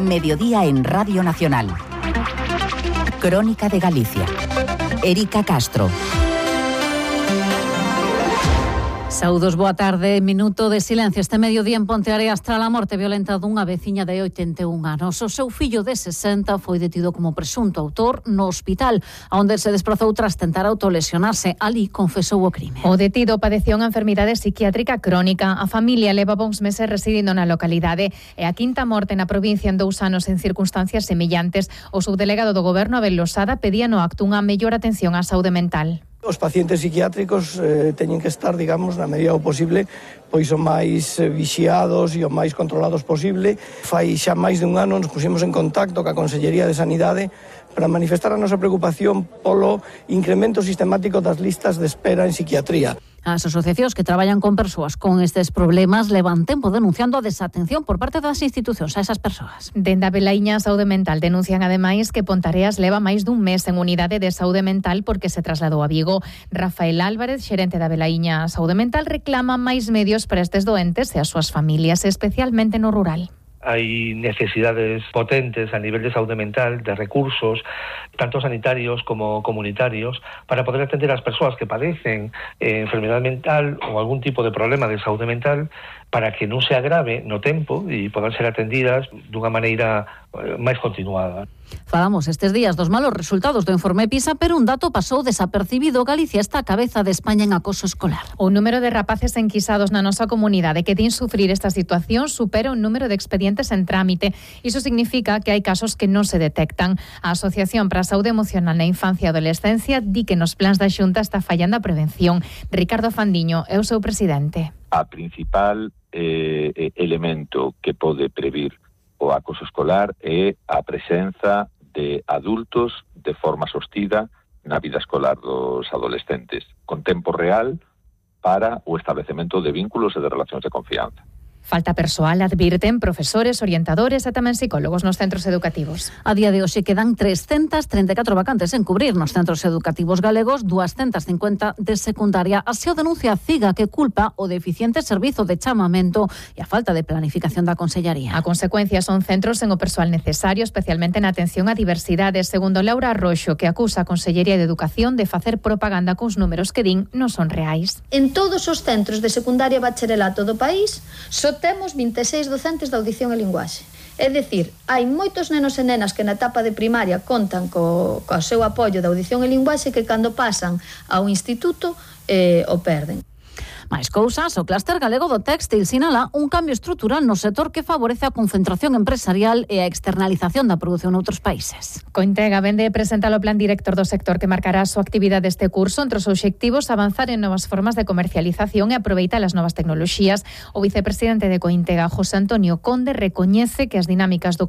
Mediodía en Radio Nacional. Crónica de Galicia. Erika Castro. Saúdos, boa tarde. Minuto de silencio este mediodía en Ponteareas tras a morte violenta dunha veciña de 81 anos. O seu fillo de 60 foi detido como presunto autor no hospital, onde se desprazou tras tentar autolesionarse. Ali confesou o crime. O detido padecía unha enfermidade psiquiátrica crónica. A familia levaba uns meses residindo na localidade e a quinta morte na provincia en 2 anos en circunstancias semillantes. O subdelegado do Goberno, Abel Losada, pedía no acto unha mellor atención á saúde mental. Os pacientes psiquiátricos teñen que estar, digamos, na medida do posible, pois o máis vixiados e o máis controlados posible. Fai xa máis de un ano nos pusimos en contacto ca Consellería de Sanidade para manifestar a nosa preocupación polo incremento sistemático das listas de espera en psiquiatría. As asociacións que traballan con persoas con estes problemas levan tempo denunciando a desatención por parte das institucións a esas persoas. Dende a Velaíña Saúde Mental denuncian ademais que Pontareas leva máis dun mes en unidade de saúde mental porque se trasladou a Vigo. Rafael Álvarez, xerente da Velaíña Saúde Mental, reclama máis medios para estes doentes e as súas familias, especialmente no rural. Hai necesidades potentes a nivel de saúde mental, de recursos, tanto sanitarios como comunitarios, para poder atender as persoas que padecen enfermedade mental ou algún tipo de problema de saúde mental para que non se agrave no tempo e podan ser atendidas dunha maneira máis continuada. Falamos estes días dos malos resultados do informe PISA, pero un dato pasou desapercibido. Galicia está a cabeza de España en acoso escolar. O número de rapaces enquisados na nosa comunidade que din sufrir esta situación supera o número de expedientes en trámite. Iso significa que hai casos que non se detectan. A Asociación para a Saúde Emocional na Infancia e Adolescencia di que nos plans da Xunta está fallando a prevención. Ricardo Fandiño é o seu presidente. A principal elemento que pode previr o acoso escolar é a presenza de adultos de forma sostida na vida escolar dos adolescentes, con tempo real para o establecemento de vínculos e de relacións de confianza. Falta persoal, advirten profesores, orientadores e tamén psicólogos nos centros educativos. A día de hoxe quedan 334 vacantes en cubrir nos centros educativos galegos, 250 de secundaria. Así o denuncia a CIGA, que culpa o deficiente servizo de chamamento e a falta de planificación da Consellería. A consecuencia son centros sen o persoal necesario, especialmente na atención á diversidade, segundo Laura Arroxo, que acusa a Consellería de Educación de facer propaganda cuns números que din non son reais. En todos os centros de secundaria e bacharelato do país, temos 26 docentes de audición e linguaxe. É dicir, hai moitos nenos e nenas que na etapa de primaria contan co seu apoio de audición e linguaxe que cando pasan ao instituto o perden. Mais cousas, o clúster galego do téxtil sinala un cambio estrutural no sector que favorece a concentración empresarial e a externalización da produción noutros países. Cointega vende e presenta o plan director do sector que marcará a súa actividade este curso. Entre os obxectivos, avanzar en novas formas de comercialización e aproveitar as novas tecnoloxías. O vicepresidente de Cointega, José Antonio Conde, recoñece que as dinámicas do